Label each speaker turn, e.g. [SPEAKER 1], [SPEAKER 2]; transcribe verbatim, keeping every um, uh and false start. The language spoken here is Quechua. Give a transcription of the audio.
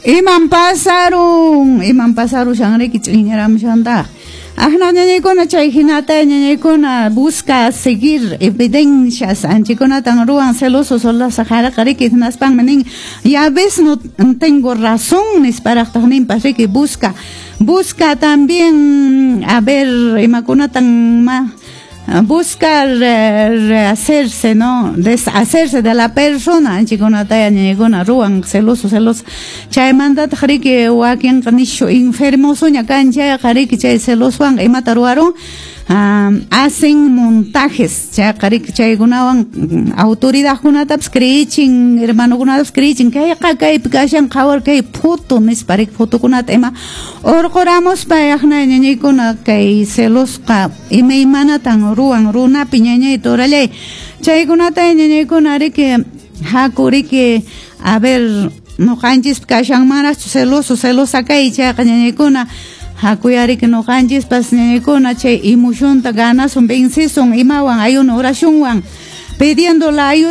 [SPEAKER 1] Iman pasarun, iman pasarushan riki ch'iñaramushantaq. Ahna ñañaykuna chay hinata ñañaykuna busca seguir evidencias anchikunatan ruwan celoso celosa qhariqa riki hinaspanmi nin ya ves no tengo razón nisparaqtaq ninpas riki busca busca también a ver imakunatan ma buscar rehacerse, ¿no? Deshacerse de la persona, anchikunata ñañaykuna ruwan celoso celoso. Chaymantataq riki wakinqa nishu enfermosoña kan chayqa riki chay celoswan imata ruwarun um, hacen montajes chayqa riki chaykunawan autoridadkunatapas creichin hermanokunatapas creichin kayqa kaypi kashan qhawar kay foto nispa riki fotokunata ima urquramuspa yaqna ñañaykuna kay celosqa imaymanatan ruwan runapi ñañay turallay chaykunata ñañaykuna riki haku riki a ver nuqanchispi kashanmanraqchu celoso celosa kay chayqa ñañaykuna hakuyariki nuqanchispas ñañaykuna chay emocionta ganasun vencisun imawan ayuno oracionwan pidiendo la ayuda